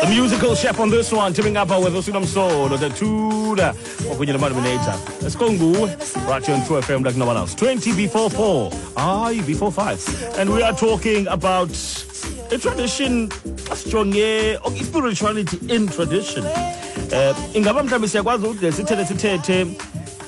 A musical chef on this one, teaming up with Usinam Soul, the Tudor, kwakunye noMadominator. Let's go nguwe, right here on True FM like no one else. 20 before 4, aye, before 5. And we are talking about a tradition, asijonge, spirituality in tradition. Ingaba mhlawumbi siyakwazi ukude sithethe sithethe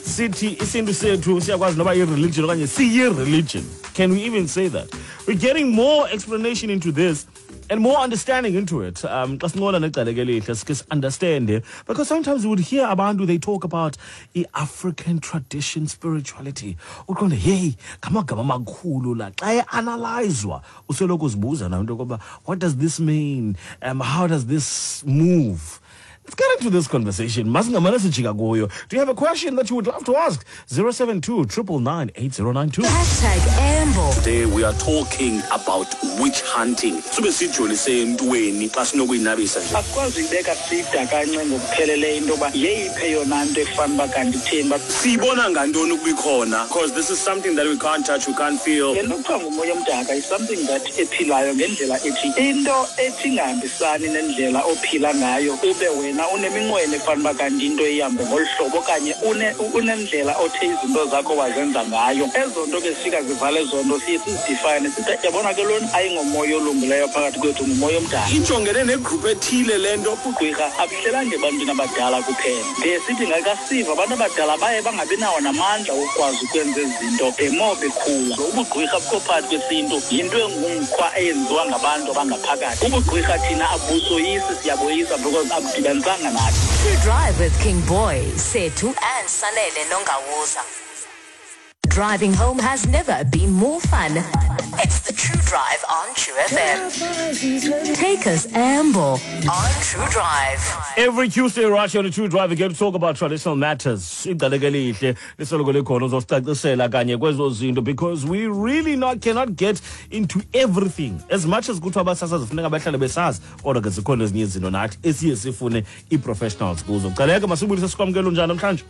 sithi isintu sethu siyakwazi noba yi-religion okanye siyi-religion. Can we even say that? We're getting more explanation into this and more understanding into it. Xa sincola necaleke elihle sike si-understande, because sometimes we would hear abantu, they talk about i-African tradition spirituality. Uqonde, hey, ngamagama amakhulu la. Xa e-analyzwa, usoloko uzibuza nawe into yokoba, what does this mean? How does this move? Let's get into this conversation. Masingamane sijika kuyo. Do you have a question that you would love to ask? 072 999 8092. #Ambo. Today we are talking about witch hunting. Sube sijolise entweni xa sinokuyinabisa nje. Asikwazi uyibeka sida kancinci ngokupheleleyo into yoba yeyiphi eyona nto efana uba kanti itheni uba Siyibona ngantoni ukuba ikhona? Because this is something that we can't touch, we can't feel. Le nto kuthiwa ngumoya omdaka is something that ephilayo ngendlela ethi into ethi ingahambisani nendlela ophila ngayo, ube wena uneminqweno efana uba kanti into ihambe ngolu hlobo okanye unendlela othe izinto zakho wazenza ngayo. Ezo nto ke zifika zivale ezo nto siye sizidifayine sithi yabona ke lona ayingomoya olungileyo phakathi kwethu, ngumoya omdaka. Ijongene negroup ethile le nto. Ugqirha abuhlelanga ebantwini abadala kuphela. Ndiye sithi ngakasiva abantu abadala baye bangabi nawo namandla wokukwazi ukwenza ezi zinto the more bekhula. Ubugqirha bukho phakathi kwesintu, yinto engumkhwa eyenziwa ngabantu abangaphakathi. Ubugqirha thina abusoyisi, siyaboyisa because abudibanisanga nathi. True Drive with King Boy, Sethu and Sanele Nongawuza. Driving home has never been more fun. It's the True Drive on True FM. Take us amble on True Drive. Every Tuesday, right here on the True Drive, we get to talk about traditional matters. Igcaleke elihle lisoloko likhona uzosicacisela kanye kwezo zinto, because we really not cannot get into everything. As much as kuthiwa abasasazi funeka bahlale besazi, kodwa ke zikhona ezinye izinto nathi esiye sifune ii-professionals kuzo. Gcaleke, masibulise sikwamkele unjani namhlanje?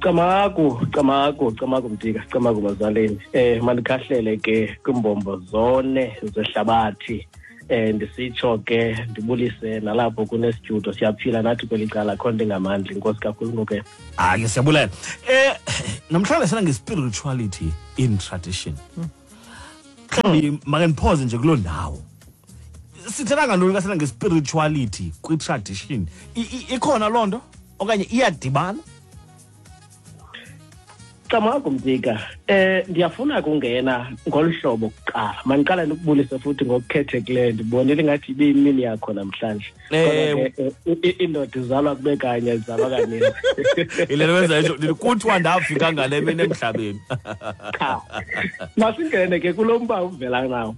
Camagu, camagu, camagu Mtika, camagu bazaleni. Mandikhahlele ke kwimbombo zone zehlabathi. Ndisitsho ke ndibulise nalapho kunestudio, siyaphila nathi kweli cala, akho nto ingamandla. Inkosi kakhulu ngoke. Hayi, siyabulela. Namhlanje sina nge-spirituality in tradition. Mhlawumbi make ndipause nje kuloo ndawo. Sithetha ngantoni xa sithetha nge-spirituality kwi-tradition? Ikhona loo nto okanye iyadibana? Camagu Mtika, ndiyafuna kungena ngolu hlobo kuqala. Mandiqale ndikubulise futhi ngokukhethekileyo, ndibonile ingathi ibiyimini yakho namhlanje. Kodwa ke, indoda izalwa kube kanye, izalwa kaninzi. Yile nto wenza itsho, ndithi kuthiwa ndafika ngale mini emhlabeni. Cha. Masingene ke kulo mba uvela nawo.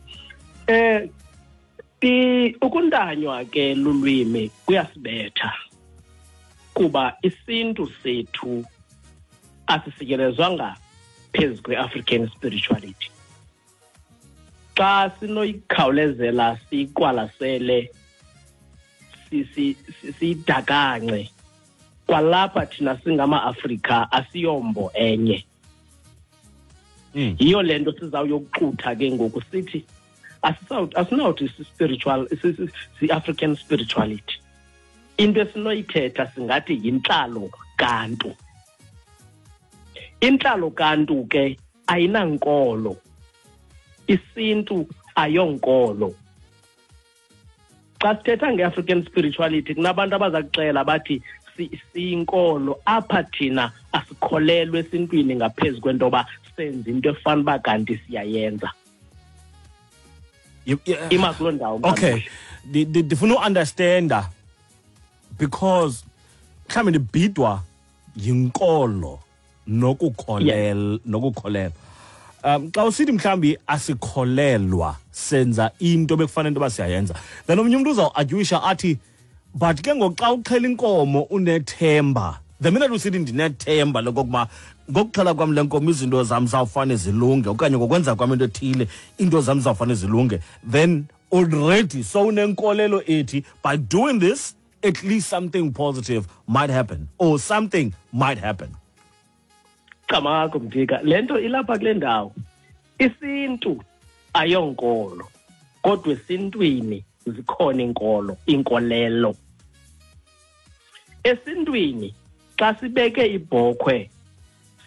Ukuntanywa ke lulwimi kuyasibetha, kuba isintu sethu asisikelezwanga phezu kwe-African spirituality. Xa sinoyikhawulezela siyiqwalasele, siyidakance, kwalapha thina singama-Afrika asiyombo enye. Yiyo le nto sizawuyokuxutha ke ngoku sithi asinawuthi si-African spirituality. Into esinoyithetha singathi yintlalo kaNtu. Intlalo kaNtu ke ayinankolo, isintu ayonkolo. Xa sithetha nge-African spirituality kunabantu abaza kuxela bathi siyinkolo, apha thina asikholelwe esintwini ngaphezu kwento yoba senze into efana uba kanti siyayenza. Ima kuloo ndawo, mntana. Okay. Ndifuna u-understanda because mhlawumbi ndibhidwa yinkolo nokukholelwa. Xa usithi mhlawumbi asikholelwa, senza into bekufanele into yoba siyayenza, then omnye umntu uzawuadyuwisha athi but ke ngoku xa uxhela inkomo unethemba. The minute usithi ndinethemba lokokuba ngokuxhela kwam le nkomo izinto zam zawufane zilunge, okanye ngokwenza kwam into ethile into zam zawufane zilunge, then already sowunenkolelo ethi by doing this at least something positive might happen or something might happen. Camagu Mtika, le nto ilapha kule ndawo. Isintu ayonkolo, kodwa esintwini Zikhona iinkolo, iinkolelo. Esintwini xa sibeke ibhokhwe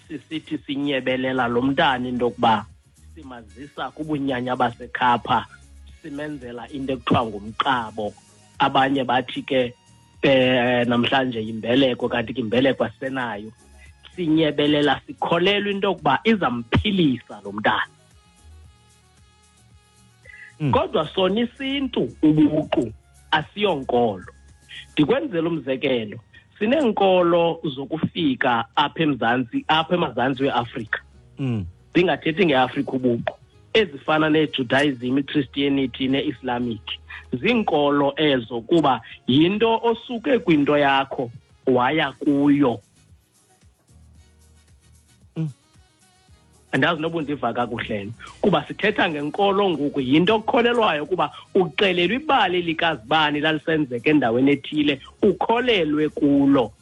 sisithi sinyebelela lo mntana into yokuba simazisa kubunyanya baseKapa, simenzela into ekuthiwa ngumqabo. Abanye bathi ke namhlanje yimbeleko, kanti ke imbeleko asisenayo. Sinyebelela sikholelwa into yokuba izamphilisa lo mntana. Kodwa sona isintu ubuqu asiyonkolo. Ndikwenzela umzekelo, sineenkolo zokufika apha eMzantsi, apha emazantsi weAfrika. Ndingathethi ngeAfrika ubuqu, ezifana neJudaism, iChristianity neIslamic. Ziinkolo ezo kuba yinto osuke kwinto yakho waya kuyo. Andazi noba undiva kakuhle, kuba sithetha ngenkolo ngoku, yinto okukholelwayo kuba uxelelwa ibali likazibani lalisenzeka endaweni ethile, ukholelwe kulo,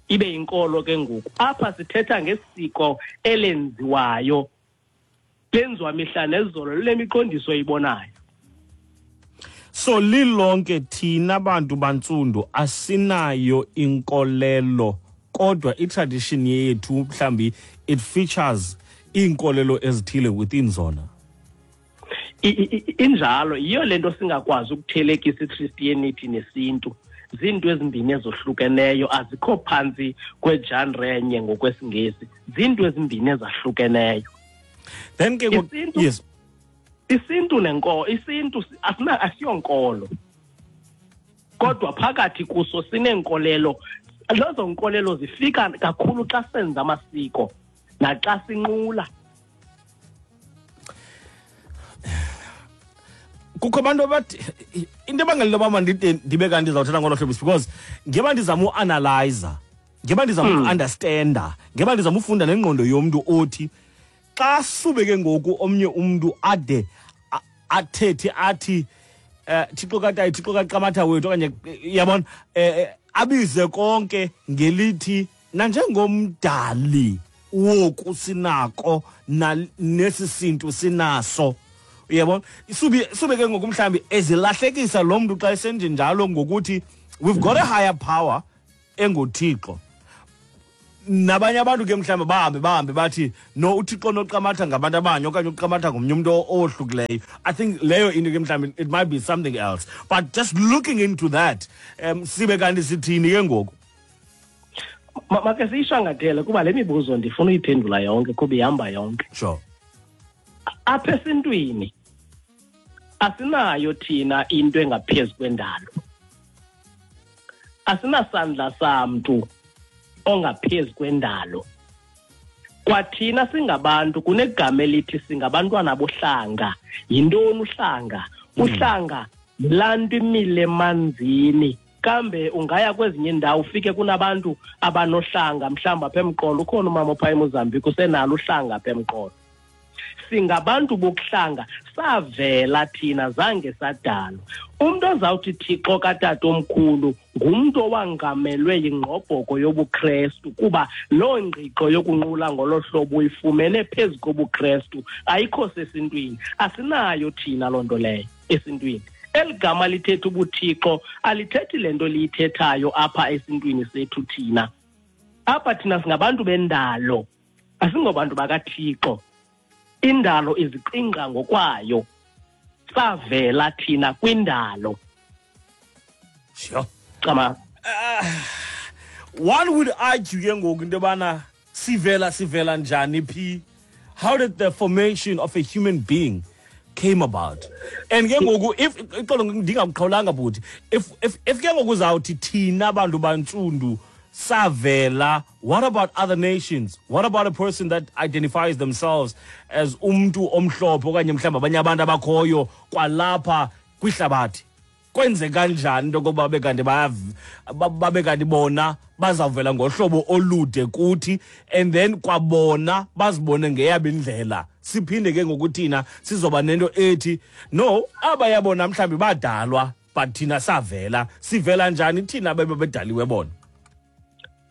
ibe yinkolo ke ngoku. Apha sithetha ngesiko elenziwayo, lenziwa mihla nezolo, lemiqondiso oyibonayo. So lilonke thina bantu bantsundu asinayo inkolelo, kodwa i-tradition yethu mhlambi it features iinkolelo ezithile within zona. Injalo, yiyo le nto singakwazi ukuthelekisa iChristianity nesintu. Zinto ezimbini ezohlukeneyo, azikho phantsi kwegenre enye ngokwesiNgesi, zinto ezimbini ezahlukeneyo. Then ke yes. Isintu nenko, isintu asina, asiyonkolo, kodwa phakathi kuso sineenkolelo. Lezo nkolelo zifika kakhulu xa senza amasiko naxa sinqula. Kukho abantu abathi into ebangela into yoba mandide ndibe kanti ndizawuthetha ngolo hlobo is because ngeba ndizama uanalyza, ngeba ndizama uku-understanda, ngeba ndizama ufunda nengqondo yomntu othi xa sube ke ngoku omnye umntu ade athethe athi Thixo kaTayi, Thixo kaQamatha wethu, okanye yabona, abize konke ngelithi nanjengomdali woku sinako nesi sintu sinaso, uyabona, sube ke ngoku mhlawumbi ezilahlekisa lo mntu xa esenjenjalo ngokuthi we've got a higher power enguThixo. Nabanye abantu ke mhlawumbi bahambe bathi no, uThixo noQamatha ngabantu abanye okanye uQamatha ngomnye umntu owohlukileyo. I think leyo into ke mhlawumbi it might be something else, but just looking into that, sibe kanti sithini ke ngoku? Make siyishangatele kuba le mibuzo ndifuna uyiphendula yonke kuba ihamba yonke. Apha esintwini asinayo thina into engaphezu kwendalo. Asinasandla samntu ongaphezu kwendalo. Kwathina singabantu kunegama elithi singabantwana bohlanga. Yintoni uhlanga? Uhlanga laa nto imile emanzini. Kambe ungaya kwezinye iindawo ufike kunabantu abanohlanga, mhlawumbi apha emqolo ukhona umama opha eMozambique usenalo uhlanga apha emqolo. Singabantu bokuhlanga, savela thina zange sadalwa. Umntu ozawuthi Thixo katatomkhulu ngumntu owangamelwe yingqobhoko yobuKrestu, kuba loo ngqiqo yokunqula ngolo hlobo uyifumene phezu kobuKrestu, ayikho sesintwini. Asinayo thina loo nto leyo esintwini. Eli gama lithetha ubuThixo alithethi le nto liyithethayo apha esintwini sethu thina. Apha thina singabantu bendalo, asingobantu bakaThixo. Indalo iziqingqa ngokwayo, savela thina kwindalo. Cama. One would argue ke ngoku into yobana sivela njani phi? How did the formation of a human being came about? And ke ngoku if ixolo ndingakuqhawulanga bhuti, if ke ngoku uzawuthi thina bantu bantsundu savela, what about other nations? What about a person that identifies themselves as umntu omhlophe okanye mhlawumbi abanye abantu abakhoyo kwalapha kwihlabathi? Kwenzeka kanjani into yokokuba babe kanti babe kanti bona bazawuvela ngohlobo olude kuthi, and then kwabona bazibone ngeyabo indlela, siphinde ke ngoku thina sizoba nento ethi no, abaya bona mhlawumbi badalwa but thina savela. Sivela njani thina bebe bedaliwe bona?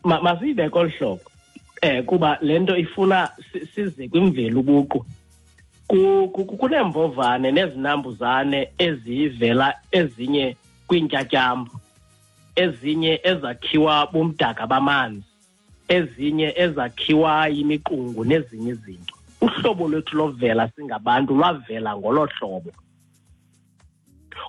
Masiyibeke olu hlobo, kuba le nto ifuna size kwimveli ubuqu. Kuneembovane nezinambuzane ezivela ezinye kwiintyatyambo, ezinye ezakhiwa bumdaka bamanzi, ezinye ezakhiwa yimiqungu nezinye izinto. Uhlobo lwethu lovela singabantu lwavela ngolo hlobo.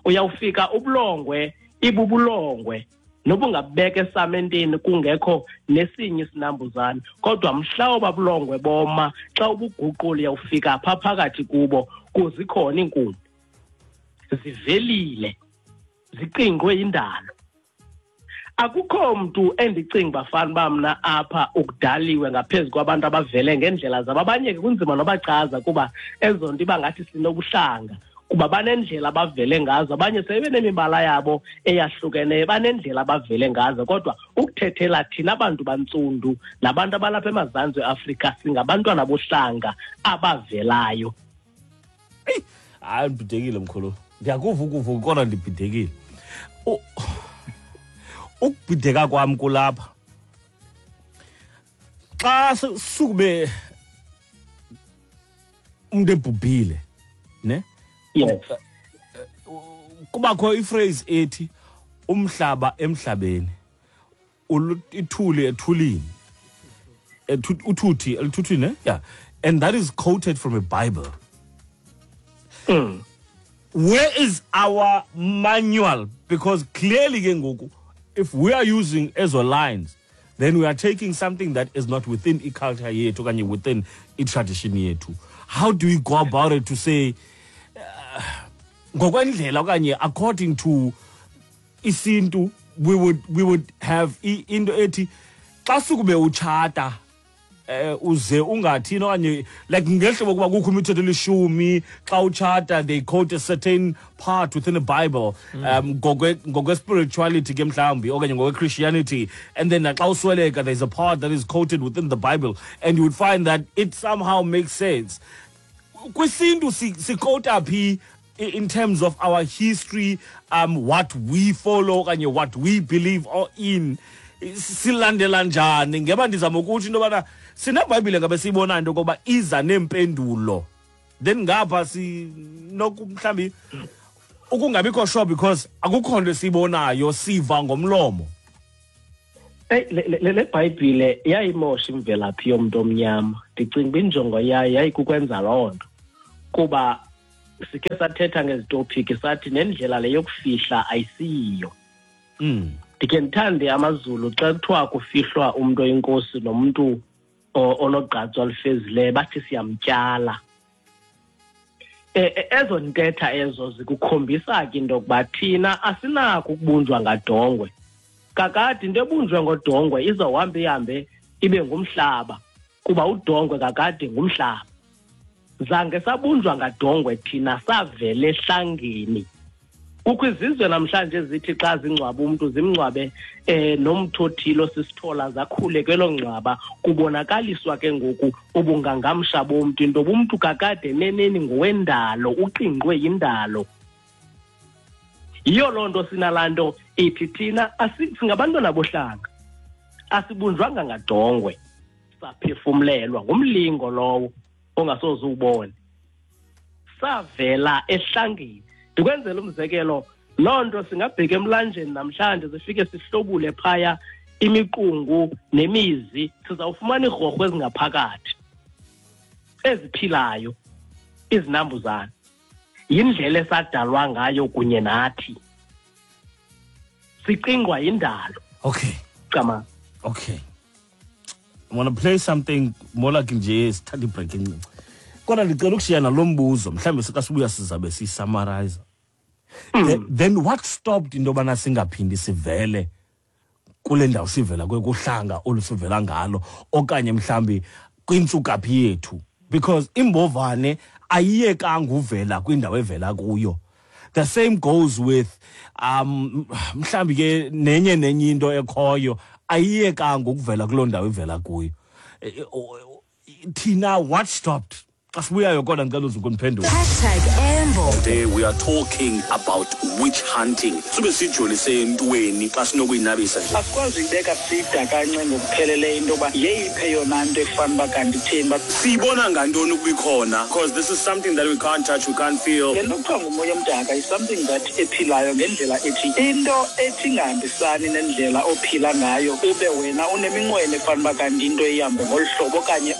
Uyawufika ubulongwe ibubulongwe nobungabeka esamenteni kungekho nesinye isinambuzane, kodwa mhla obabulongwe boma, xa ubuguqula uyawufika pha phakathi kubo kuzikhona iinkumbi zivelile, ziqingqwe yindalo. Akukho mntu endicinga bafana uba mna apha ukudaliwe ngaphezu kwabantu abavele ngeendlela zabo. Abanye ke kunzima nobachaza kuba ezo nto iba ngathi sinobuhlanga, kuba banendlela abavele ngazo. Abanye sebenemibala yabo eyahlukeneyo, banendlela abavele ngazo. Kodwa ukuthethela thina bantu bantsundu nabantu abalapha emazantsi eAfrika, singabantwana bohlanga abavelayo. Eyi, hayi, ndibhidekile mkhulu, ndiyakuva ukuvuka kodwa ndibhidekile. Ukubhideka kwam kulapha xa sukube umuntu ebhubhile, ne? Yes. Kubakho iphrase ethi umhlaba emhlabeni, ithuli ethulini, uthuthi eluthuthini, ne? Yeah, and that is quoted from a Bible. Where is our manual? Because clearly ke ngoku, if we are using ezo lines, then we are taking something that is not within i-culture yethu okanye within i-tradition yethu. How do we go about it to say ngokwendlela okanye according to isintu, we would have into ethi xa sukube utshata uze ungathini, okanye like ngehlobo kuba kukho imithetho elishumi xa utshata, they quote a certain part within the Bible ngokwe-spirituality ke mhlawumbi okanye ngokwe-Christianity, and then naxa usweleka there's a part that is quoted within the Bible, and you would find that it somehow makes sense. Kwisintu siquota phi in terms of our history, what we follow okanye what we believe or in, silandela njani? Ngeba ndizama ukutsho into yobana sinebhayibhile ngabe siyibonayo into yokoba iza neempendulo, then ngapha sinoku mhlawumbi ukungabikho sure because akukho nto esiyibonayo, siva ngomlomo. Eyi, le Bhayibhile yayimosha imvelaphi yomntu omnyama. Ndicinga uba injongo yayo yayikukwenza loo nto, kuba sikhe sathetha ngezi topiki, sathi nendlela le yokufihla ayisiyiyo. Ndikhe ndithande amaZulu xa kuthiwa kufihlwa umntu oyinkosi nomntu onogqatso alufezileyo, bathi siyamtyala. Ezo ntetha ezo zikukhombisa ke into yokuba thina asinako ukubunjwa ngadongwe. Kakade into ebunjwe ngodongwe izawuhamba ihambe ibe ngumhlaba, kuba udongwe kakade ngumhlaba. Zange sabunjwa ngadongwe thina, savele ehlangeni. Kukho izizwe namhlanje zithi xa zingcwaba umntu zimngcwabe nomthi othile osisithola, zakhule kwelo ngcwaba, kubonakaliswa ke ngoku ubungangamsha bomntu, into yoba umntu kakade neneni ngowendalo, uqingqwe yindalo. Yiyo loo nto sinalaa nto ithi thina singabantwana bohlanga, asibunjwanga ngadongwe, saphefumlelwa ngumlingo lowo ongasoze uwubone, savela ehlangeni. Ndikwenzela umzekelo, loo nto singabheka emlanjeni namhlanje, sifike sihlobule phaya imiqungu nemizi, sizawufumana iirhorho ezingaphakathi eziphilayo, izinambuzane. Yindlela esadalwa ngayo kunye nathi, siqingqwa yindalo. Cama. Okay, I want to play something more like nje sithatha ibreak encinci, kodwa ndicela ukushiya nalo mbuzo, mhlawumbi xa sibuya sizabe siyisummarize. Then what stopped into yobana singaphindi sivele kule ndawo sivela kuyo, kuhlanga olu sivela ngalo, okanye mhlawumbi kwintsukaphi yethu? Because imbovane ayiyekanga uvela kwindawo evela kuyo. The same goes with mhlawumbi ke nenye nenye into ekhoyo, ayiyekanga ukuvela kuloo ndawo ivela kuyo. Thina what stopped? Xa sibuyayo kodwa ndicela uze ukundiphendula. #Embo. Today we are talking about witch hunting. Sube sijolise entweni xa sinokuyinabisa nje. Asikwazi uyibeka sida kancinci ngokupheleleyo into yoba yeyiphi eyona nto efana uba kanti itheni uba Siyibona ngantoni ukuba ikhona? Because this is something that we can't touch, we can't feel. Le nto kuthiwa ngumoya omdaka is something that ephilayo ngendlela ethi into ethi ingahambisani nendlela ophila ngayo, ube wena uneminqweno efana uba kanti into ihambe ngolu hlobo okanye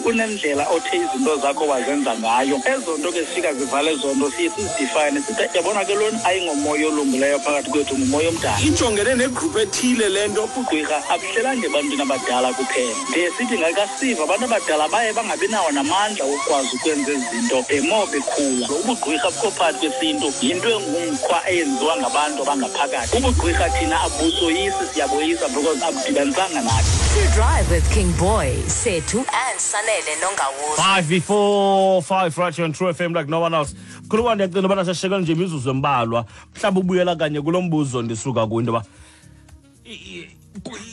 unendlela othe izinto zakho wazenza ngayo. Ezo nto ke zifika zivale ezo nto, siye sizidifayine sithi yabona ke lona ayingomoya olungileyo phakathi kwethu, ngumoya omdaka. Ijongene negroup ethile le nto. Ubugqwirha abuhlelanga ebantwini abadala kuphela. Ndiye sithi ngakasiva abantu abadala baye bangabi nawo namandla wokukwazi ukwenza ezi zinto the more bekhula. Ubugqwirha bukho phakathi kwesintu, yinto engumkhwa eyenziwa ngabantu abangaphakathi. Ubugqwirha thina abusoyisi, siyaboyisa because abudibanisanga nathi. True Drive with King Boy, Sethu and Sanele Nongawuza. 5 before 5 right here on True FM like no one else. Khuluma, ndiyacinga ubana sashiyeke nje imizuzu embalwa. Mhlawumbi ubuyela kanye kulo mbuzo ndisuka kuwo, into yoba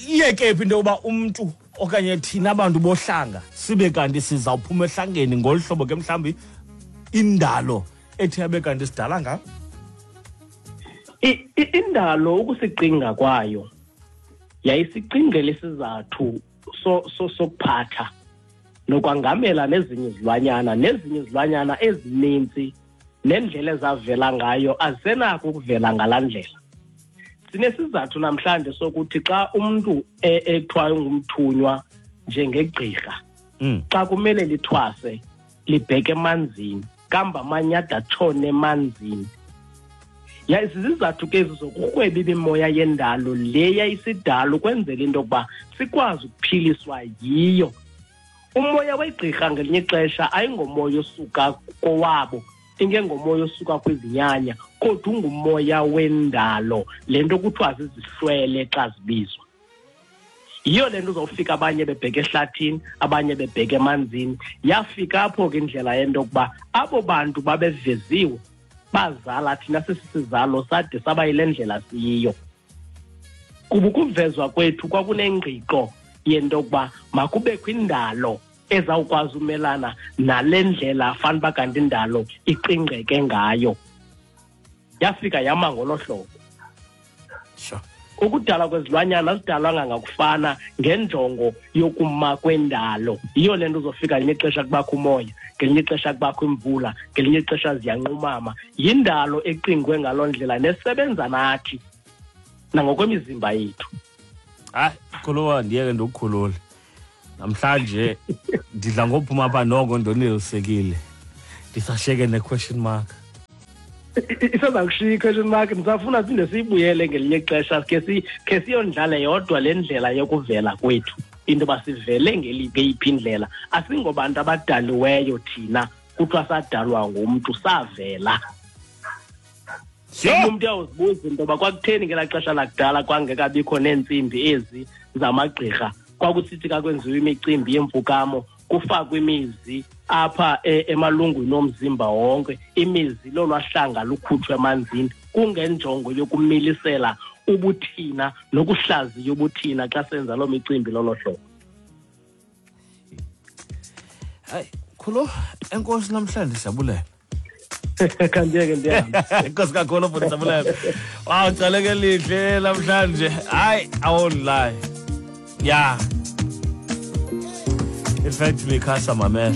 iyeke phi into yoba umntu okanye thina abantu bohlanga sibe kanti sizawuphuma ehlangeni ngolu hlobo ke mhlawumbi indalo ethi yabe kanti sidala ngayo? Indalo ukusicinga kwayo yayisicingela isizathu sokuphatha nokwangamela nezinye izilwanyana ezininzi, nendlela ezavela ngayo azisenako ukuvela ngalaa ndlela. Sinesizathu namhlanje sokuthi xa umntu ekuthiwa ungumthunywa njengegqirha, xa kumele lithwase libheke emanzini, kamba amanye ade atshone emanzini. Zizizathu ke ezi zokurhweba imimoya yendalo le yayisidala ukwenzela into yokuba sikwazi ukuphiliswa yiyo. Umoya wegqirha ngelinye ixesha ayingomoya osuka kowabo, ingengomoya osuka kwizinyanya, kodwa ungumoya wendalo, le nto kuthiwa zizihlwele xa zibizwa. Yiyo le nto uzawufika abanye bebheke ehlathini, abanye bebheke emanzini. Yafika apho ke indlela yento yokuba abo bantu babeveziwe bazala thina sisisizalo sade saba yile ndlela siyiyo. Kuba ukuvezwa kwethu kwakunengqiqo yento yokuba makubekho indalo ezawukwazi umelana nale ndlela fanele uba kanti indalo iqingqeke ngayo. Yafika yama ngolo hlobo. Ukudalwa kwezilwanyana azidalwanga ngakufana ngenjongo yokuma kwendalo. Yiyo le nto uzofika ngelinye ixesha kubakho umoya, ngelinye ixesha kubakho imvula, ngelinye ixesha ziyanqumama. Yindalo eqingwe ngaloo ndlela nesebenza nathi nangokwemizimba yethu. Hayi, khuluwa, ndiyeke ndikukhulule. Namhlanje ndidla ngophuma apha noko ndonelisekile. Ndisashiyeke ne-question mark. Iseza kushiya i-question mark, ndisafuna siphinde siyibuyele ngelinye ixesha, khe siyondlale yodwa le ndlela yokuvela kwethu, into yoba sivele ngeyiphi indlela. Asingobantu abadaliweyo thina, kuthiwa sadalwa ngumntu, savela. Umntu uyawuzibuza into yoba kwakutheni ngelaa xesha lakudala kwangekabikho neentsimbi ezi zamagqirha, kwakusithi ka kwenziwa imicimbi yemfukamo kufakwe imizi apha emalungwini omzimba wonke, imizi lolwahlanga lukhutshwe emanzini kungenjongo yokumilisela ubuthina nokuhlaziya ubuthina xa senza loo micimbi lolo hlobo. Hayi, Khulu, enkosi namhlanje, siyabulela. Khandiyeke ndiyahamba. Enkosi kakhulu futhi, siyabulela. Wow, caleke lihle namhlanje. Hayi, I won't lie. Yeah. In fact, Mikasa mamela.